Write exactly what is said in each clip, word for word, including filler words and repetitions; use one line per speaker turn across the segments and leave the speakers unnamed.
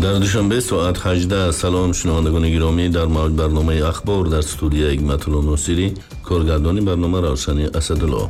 Дар Душанбе соат ҳаждаҳ. Салом, шунавандагони гиромӣ, дар мавҷ барномаи «Ахбор», дар студия Ҳикматулло Носирӣ, коргардони барнома Равшани Асадулло.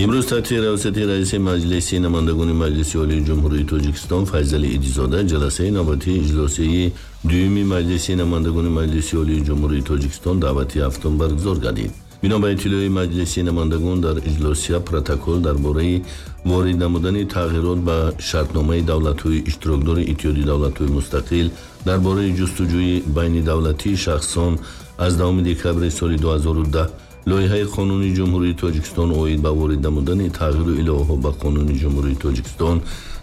Имрӯз таҳти раёсати раиси Маҷлиси намояндагони Маҷлиси Олии Ҷумҳурии Тоҷикистон Файзалӣ Идизода ҷаласаи навбатии иҷлосияи дуюми Маҷлиси намояндагони Маҷлиси Олии Ҷумҳурии Тоҷикистон даъвати ҳафтум баргузор гардид. Бино ба иттилои Маҷлиси намояндагон, дар иҷлосия протокол дар бораи ворид намудани тағйирот ба шартномаи давлатҳои иштирокдори Иттиҳоди Давлатҳои Мустақил дар бораи ҷустуҷӯи байнидавлатии шахсон аз даҳуми декабри соли ду ҳазору даҳ, лоиҳаи қонуни Ҷумҳурии Тоҷикистон оид ба ворид намудани тағйиру иловаҳо ба Қонуни Ҷумҳурии Тоҷикистон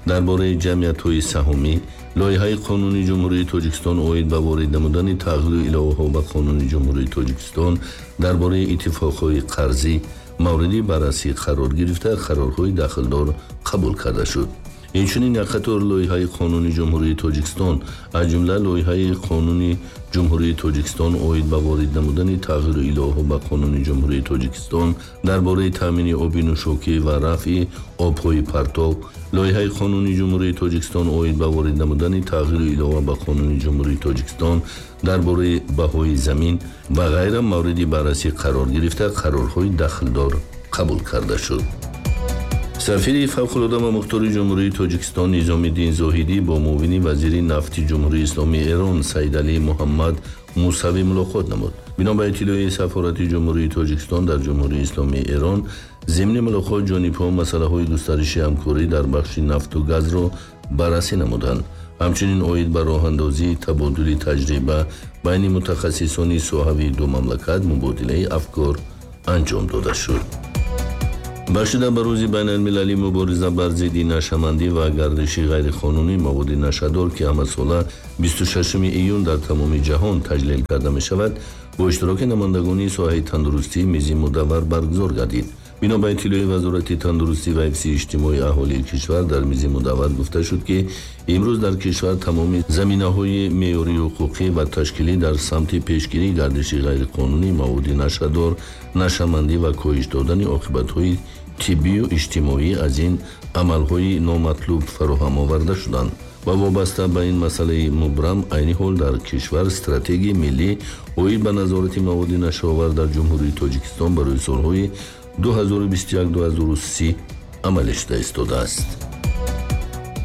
дар бораи ҷамъиятҳои саҳомӣ, лоиҳаи қонуни Ҷумҳурии Тоҷикистон оид ба ворид намудани тағйиру иловаҳо ба Қонуни Ҷумҳурии Тоҷикистон дар бораи иттифоқҳои қарзӣ мавриди баррасӣ қарор гирифта, қарорҳои дахлдор қабул карда шуд. Инчунин як қатор лоиҳаи қонуни Ҷумҳурии Тоҷикистон, аз ҷумла лоиҳаи қонуни Ҷумҳурии Тоҷикистон оид ба ворид намудани тағйиру иловаҳо ба Қонуни Ҷумҳурии Тоҷикистон дар бораи таъмини оби нӯшокӣ ва рафъи обҳои партов, лоиҳаи қонуни Ҷумҳурии Тоҷикистон оид ба ворид намудани тағйиру илова ба Қонуни Ҷумҳурии Тоҷикистон дар бораи баҳои замин ва ғайра мавриди баррасӣ қарор гирифта, қарорҳои дахлдор қабул карда шуд. Сафири фавқулода ва мухтори Ҷумҳурии Тоҷикистон Низомиддин Зоҳидӣ бо муовини вазири нафти Ҷумҳурии Исломии Эрон Саидалӣ Муҳаммад Мусавӣ мулоқот намуд. Бино ба иттилои сафорати Ҷумҳурии Тоҷикистон дар Ҷумҳурии Исломии Эрон, зимни мулоқот ҷонибҳо масъалаҳои густариши ҳамкорӣ дар бахши нафту газро баррасӣ намуданд. Ҳамчунин оид ба роҳандозии табодули таҷриба байни мутахассисони соҳавии ду мамлакат мубодилаи афкор анҷом дода шуд. Бахшида ба Рӯзи байналмилалии мубориза бар зидди нашъамандӣ ва гардиши ғайриқонунии маводи нашъадор, ки ҳамасола бисту шашуми июн дар тамоми ҷаҳон таҷлил карда мешавад, бо иштироки намояндагони соҳаи тандурустӣ мизи мудаввар баргузор гардид. Бино ба иттилои Вазорати тандурустӣ ва ҳифзи иҷтимоии аҳолии кишвар, дар мизи мудаввар гуфта шуд, ки имрӯз дар кишвар тамоми заминаҳои меъёрии ҳуқуқӣ ва ташкилӣ дар самти пешгирии гардиши ғайриқонунии маводи нашъадор, нашъамандӣ ва коҳиш додани оқибатҳои тиббию иҷтимоӣ аз ин амалҳои номатлуб фароҳам оварда шуданд ва вобаста ба ин масъалаи мубрам айни ҳол дар кишвар стратегияи миллӣ оид ба назорати маводи нашъаовар дар Ҷумҳурии Тоҷикистон барои солҳои ду ҳазору бисту як-ду ҳазору си амалӣ шуда истодааст.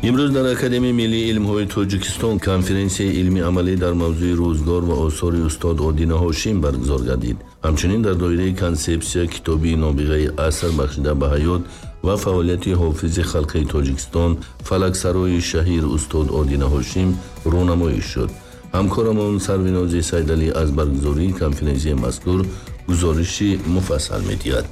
Имрӯз дар Академияи миллии илмҳои Тоҷикистон конференсияи илмии амалӣ дар мавзӯи рӯзгор ва осори устод Одина Ҳошим баргузор гардид. Ҳамчунин дар доираи консепсия китоби «Нобиғаи аср» бахшида ба ҳаёт ва фаъолияти ҳофизи халқи Тоҷикистон, фалаксарои шаҳир устод Одина Ҳошим рӯнамоӣ шуд. Ҳамкорамон Сарвинози Сайдалӣ аз баргузории конференсияи мазкур гузориши муфассал медиҳад.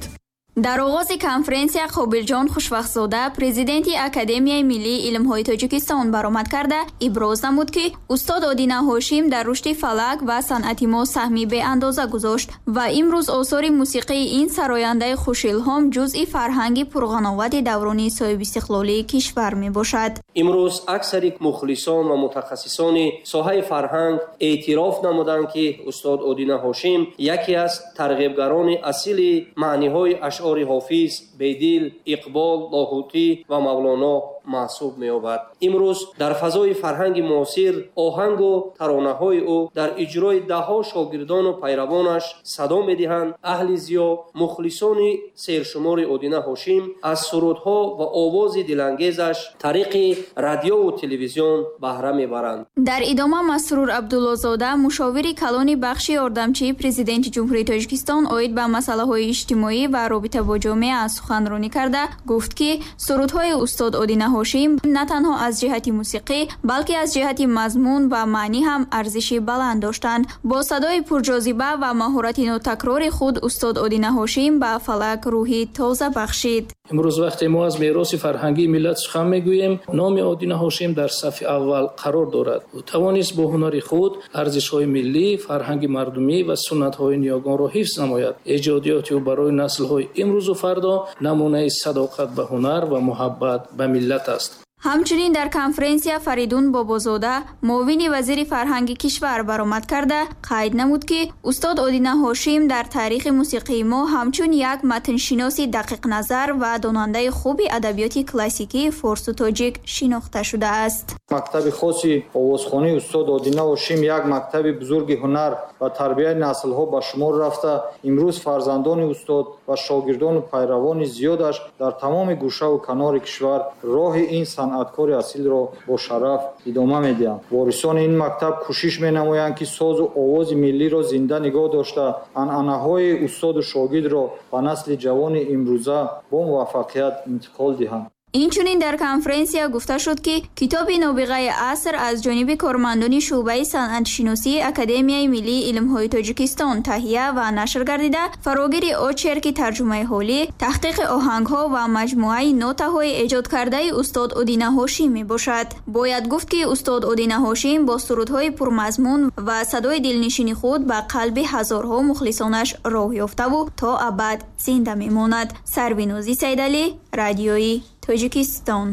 Дар оғози конференсия Қобилҷон Хушвақтзода, президенти Академияи миллии илмҳои Тоҷикистон, баромад карда иброз намуд, ки устод Одина Ҳошим дар рушди фалак ва санъати мо саҳми беандоза гузошт ва имрӯз осори мусиқии ин сарояндаи хушилҳом ҷузъи фарҳанги пурғановати даврони соҳибистиқлолии кишвар мебошад.
Имрӯз аксари мухлисон ва мутахассисони соҳаи фарҳанг эътироф намуданд, ки устод Одина Ҳошим яке аз тарғибгарони асили маъниҳои ашъори Ҳофиз, Бедил, Иқбол, Лоҳутӣ ва Мавлоно маҳсуб меёбад. Имрӯз дар фазои фарҳанги муосир оҳангу таронаҳои ӯ дар иҷрои даҳҳо шогирдону пайравонаш садо медиҳанд. Аҳли зиё, мухлисони сершумори Одина Ҳошим аз сурудҳо ва овози дилангезаш тариқи радиову телевизион баҳра мебаранд.
Дар идома Масрур Абдуллозода, мушовири калони бахши ёрдамчии Президенти Ҷумҳурии Тоҷикистон оид ба масъалаҳои иҷтимоӣ ва робита бо ҷомеа, суханронӣ карда гуфт, ки сурудҳои устод Одина Ҳошим на танҳо аз ҷиҳати мусиқӣ, балки аз ҷиҳати мазмун ва маънӣ ҳам арзиши баланд доштанд. Бо садои пурҷозиба ва маҳорати нотакрори худ устод Одина Ҳошим ба фалак рӯҳи тоза бахшид.
Имрӯз вақте мо аз мероси фарҳангии миллат сухан мегӯем, номи Одина Ҳошим дар сафи аввал қарор дорад. Ӯ тавонист бо ҳунари худ арзишҳои миллӣ, фарҳанги мардумӣ ва суннатҳои ниёгонро ҳифз намояд. Эҷодиёти ӯ барои наслҳои имрӯзу фардо намунаи садоқат ба ҳунар ва муҳаббат ба миллат аст.
Ҳамчунин дар конференсия Фаридун Бобозода, муовини вазири фарҳанги кишвар баромад карда, қайд намуд, ки устод Одина Ҳошим дар таърихи мусиқии мо ҳамчун як матншиноси дақиқназар ва донандаи хуби адабиёти классикии форсу тоҷик шинохта шудааст.
Мактаби хоси овозхонии устод Одина Ҳошим як мактаби бузурги ҳунар ва тарбияи наслҳо ба шумор рафта, имрӯз фарзандони устод ва шогирдону пайравони зиёдаш дар тамоми гӯшаву канори кишвар роҳи ин санъаткори асилро бо шараф идома медиҳанд. Ворисони ин мактаб кӯшиш менамоянд, ки созу овози миллиро зинда нигоҳ дошта, анъанаҳои устоду шогирдро ба насли ҷавони имрӯза бо муваффақият интиқол диҳанд.
Инчунин дар конференсия гуфта шуд, ки китоби «Нобиғаи аср» аз ҷониби кормандони шӯъбаи санъатшиносии Академияи миллии илмҳои Тоҷикистон таҳия ва нашр гардида, фарогири очерки тарҷумаи ҳолӣ, таҳқиқи оҳангҳо ва маҷмӯаи нотаҳои эҷодкардаи устод Одина Ҳошим мебошад. Бояд гуфт, ки устод Одина Ҳошим бо сурудҳои пурмазмун ва садои дилнишини худ ба қалби ҳазорҳо мухлисонаш роҳ ёфтаву то абад зинда мемонад. Сарвинози Сайдалӣ, Радиои Тоҷикистон.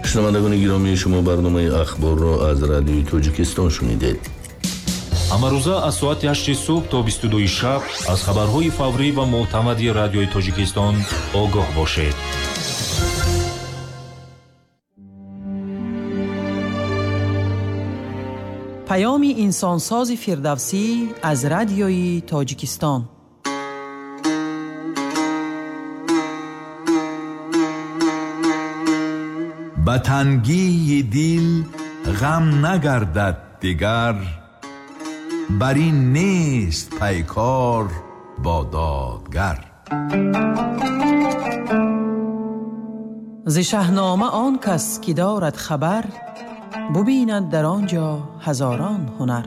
Шунавандагони гиромӣ, шумо барномаи ахборро аз Радиои Тоҷикистон шунидед.
Ҳамарӯза аз соати ҳашти субҳ то бисту дуи шаб аз хабарҳои фаврӣ ва мӯътамади Радиои Тоҷикистон огоҳ бошед.
Паёми инсонсози Фирдавсӣ аз Радиои Тоҷикистон.
Ба тангии дил ғам нагардад дигар, бар ин нест пайкор бо додгар.
Зи Шаҳнома он кас ки дорад хабар, бубинад дар он ҷо ҳазорон ҳунар.